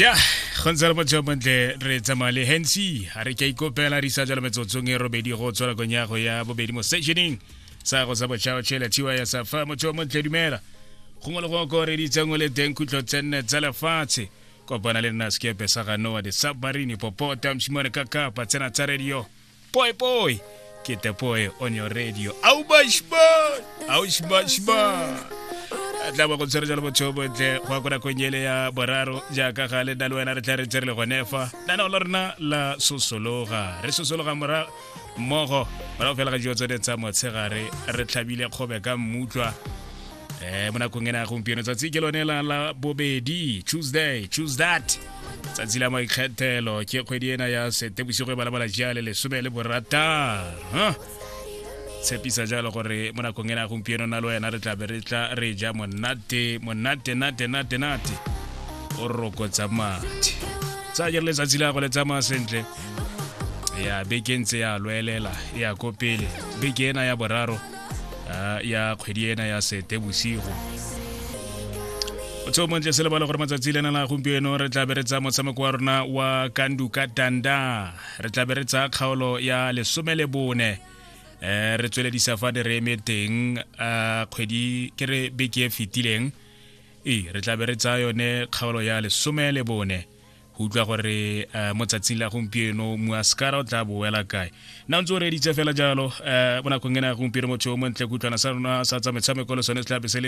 Ja, go ntse le motho yo montle re tsamaya le Hensi a re ke a ikopela re isa jalo metsotsong e robedi go tswa nakong ya go ya bobedi mo sessioning sa go sa botšhaotšhele thiwa ya sa fa. Motho yo montle, dumela gongwe le gongwe ko re ditseng o le teng, khutlo tsenne tsa lefatshe. Kopana le nna sekepe sa ga Noa the submarine popota mosimane ka kapa tsena tsa radio poi poi ke te poi on your radio. Au bashba au shba tla ba go tshwere jalo botho bontle go ya ko nakong ele ya boraro. Jaaka gale nna le wena re tla re tsere le gone fa nanao la rona la sosologa, re sosologa mora mmogo morago fela ga dijo tsone tsa motshegare, re tlhabile kgobe ka mmutlwa. Mo nakong ena ya gompieno, tsatsi ke lone la la bobedi, Tuesday, choose that tsatsi la maikgethelo, ke kgwedi ena ya Setebosigo e balabala jale 16. Tshepisa jalo gore mo nakong ena ya gompieno na le wena re tla be re tla re ja monate monate nate nate nate o rokotsa mathe. Tsa jere letsatsi la go le tsamaya sentle ya beke ntse ya lwelela ya ko pele, beke ena ya boraro ya kgwedi ena ya Setebosigo. Motho o montle, se lebale gore matsatsi lena la gompieno re tla be re tsaya motshameko wa rona wa Kanduka Tanda, re tla be re tsaya kgaolo ya 14, re tsweledisa fa ne re eme teng kgwedi ke re beke e fetileng. Ee, re tla be re tsaya yone kgaolo ya 14 go utlwa gore mo tsatsing la gompieno muaskara o tla boela kae. Nna ntse o reeditse fela jalo mo nakong ena ya gompieno, motho o montle, kutlwana sa rona sa tsa metshameko le sone se tla be se le